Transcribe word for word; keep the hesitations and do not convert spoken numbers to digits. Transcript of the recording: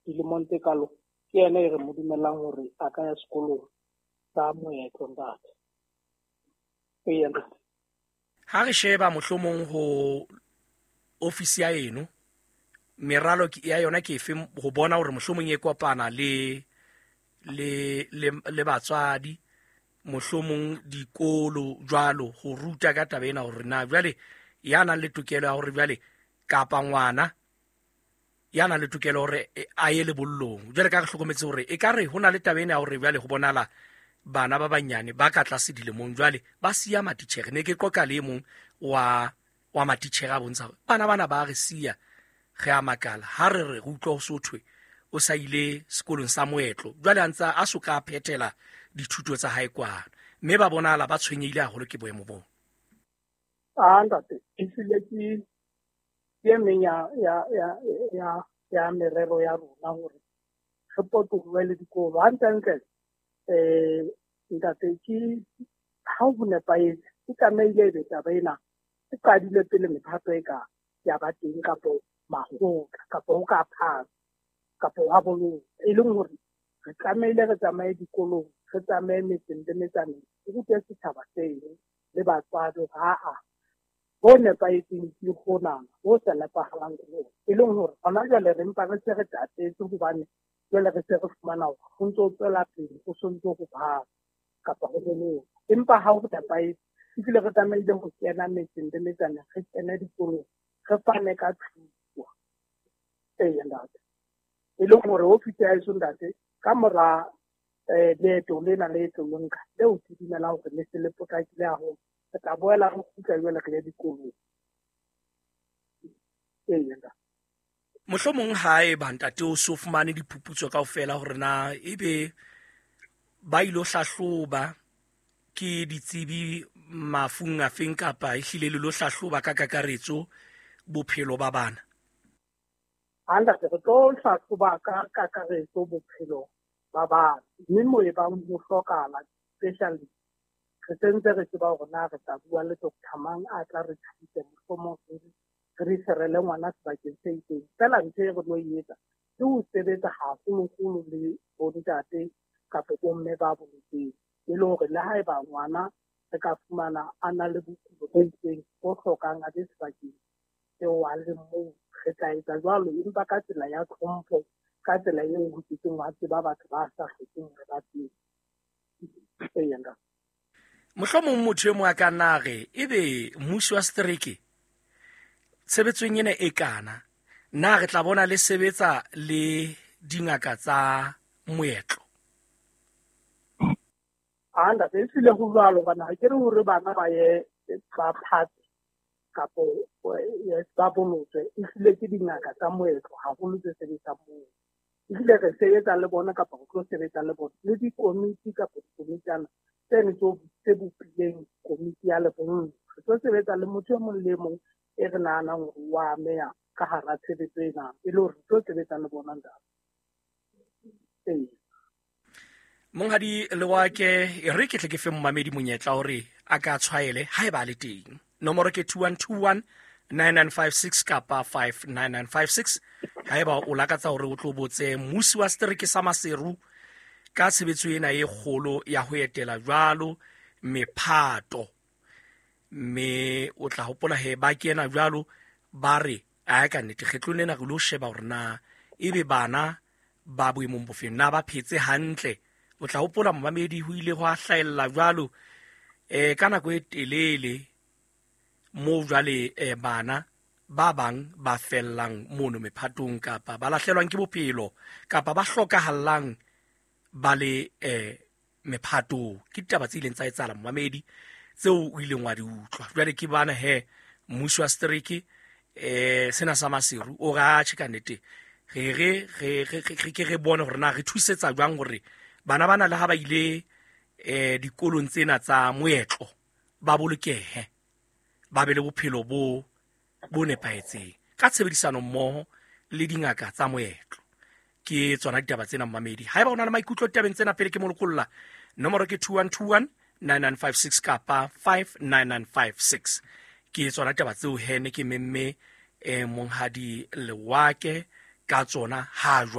dilemong tse kalo ke yena e re mo dumellang hore a ka ya sekolong sa moetlo ntate. Eya ntate. Ha re sheba mohlomong ho ofisi ya eno, meralo ya yona ke efe ho bona hore mohlomong e kopana le le le le batswadi, mohlomong dikolo jwalo, ho ruta ka taba ena hore na jwale ya nang le tokelo ya hore jwale kapa ngwana ya nang le tokelo hore a ye lebollong. Jwale ka re hlokometse hore ekare ho na le taba ena ya hore jwale ho bonala bana ba banyane ba ka tlase dilemong jwale ba siya matitjhere. Ne ke qoqa le e mong wa wa matitjhere a bontsha hore bana bana ba re siya, re a makala ha re re re utlwa ho so thwe o sa ile sekolong sa moetlo, jwale a ntsa a so ka phethela dithuto tsa hae kwana, mme ba bonahala ba tshwenyehile haholo ke boemo boo. Ah ntate, ehlile ke ke e meng ya ya ya ya ya merero ya rona hore re potolohe le dikolo hantlentle. Eh ntate, ke ha ho nepahetse e tlamehile ebe taba ena e qadile pele mephato e ka ya ba teng kapo makgotla kapo ho ka phasa kapo ha bolong, e leng hore re tlamehile re tsamaye dikolong, re tsamaye metseng le metsaneng, re rute setjhaba seno le batswadi hore aa ho nepahetseng ke hona, ho sa nepahalang ke hona. E leng hore hona jwale re mpa re se re tatetse hobane jwale re se re fumana hore ho ntso tswela pele ho sontso ho phasa kapa ho bolong. Empa ha ho nepahetse ebile re tlamehile ho kena metseng le metsaneng, re kene dikolong, re fane ka thuto. Eya ntate, e leng hore ofisi ya heso ntate ka mora eh leeto lena le tlo nka leo ke dumelang hore le se le potlakile haholo, re tla boela re kgutla jwale re ye dikolong. Eya ntate. Mohlomong haeba ntate o so fumane diphuputso kaofela hore na ebe ba ilo hlahloba ke ditsebi mafung afeng kapa ehlile le lo hlahloba ka kakaretso bophelo ba bana. Ntate, re tlo hlahloba ka kakaretso bophelo ba bana, mme moo e bang ho hlokahala specialist, re sentse re tseba hore na re tla bua le doctor mang a tla re thuse, mohlomong re re referele ngwana sebakeng se itseng. Feela ntho e re tlo e etsa ke ho sebetsa haholoholo le bontate kapa bomme ba bolotseng, e le hore le haeba ngwana re ka fumana a na le bokulo bo itseng bo hlokang a be sebakeng seo a leng moo, re tla etsa jwalo, empa ka tsela ya tlhompho, ka tsela eo ho kekeng wa tseba batho ba sa hlokeng hore ba tsebe. Eya ntate. Mohlomong motho e mong a ka nna re ebe mmuso wa setereke tshebetsong ena e kana, na re tla bona le sebetsa le dingaka tsa moetlo? Ah ntate, ehlile ho jwalo hobane ha ke re hore bana ba ye ba phate kapo ba bolotswe, ehlile ke dingaka tsa moetlo haholo tse sebetsang moo. Ehlile re sebetsa le bona kapa re tlo sebetsa le bona le dikomiti kapa dikomitana tseno tse bopileng komiti ya lebollo. Re tlo sebetsa le motho e mong le e mong e re nahanang hore wa ameha ka hara tshebetso ena, e le hore re tlo sebetsa le bona ntate. Ee. Monghadi Lewake, e re ke tle ke fe momamedi monyetla hore a ka tshwaele haeba a le teng. Nomoro ke two one two one nine nine five six kapa five nine nine five six. Haeba o lakatsa hore o tlo botse mmusi wa setereke sa Maseru ka tshebetso ena e kgolo ya ho etela jwalo mephato, mme o tla hopola he ba kena jwalo ba re a ka nnete kgetlong lena re lo sheba hore na ebe bana ba boemong bofeng, na ba phetse hantle. O tla hopola momamedi ho ile hwa hlahella jwalo eh ka nako e telele moo jwale eh bana ba bang ba fellang mono mephatong kapa ba lahlelwang ke bophelo kapa ba hlokahallang ba le eh mephatong. Ke ditaba tse ileng tsa etsahala momamedi tseo o ileng wa di utlwa. Jwale ke bana he mmuso wa setereke eh sena sa Maseru o re atjhe ka nnete re re re re ke re bone hore na re thusetsa jwang hore bana bana le ha ba ile eh dikolong tsena tsa moetlo ba bolokehe, ba be le bophelo bo bo nepahetseng ka tshebedisano mmoho le dingaka tsa moetlo. Ke tsona ditaba tsena momamedi. Haeba o na le maikutlo ditabeng tsena pele ke mo lokolla, nomoro ke two one two one nine nine five six kapa five nine nine five six. Ke tsona ditaba tseo he ne ke memme eh Monghadi Lewake Ka tsona ha jwale.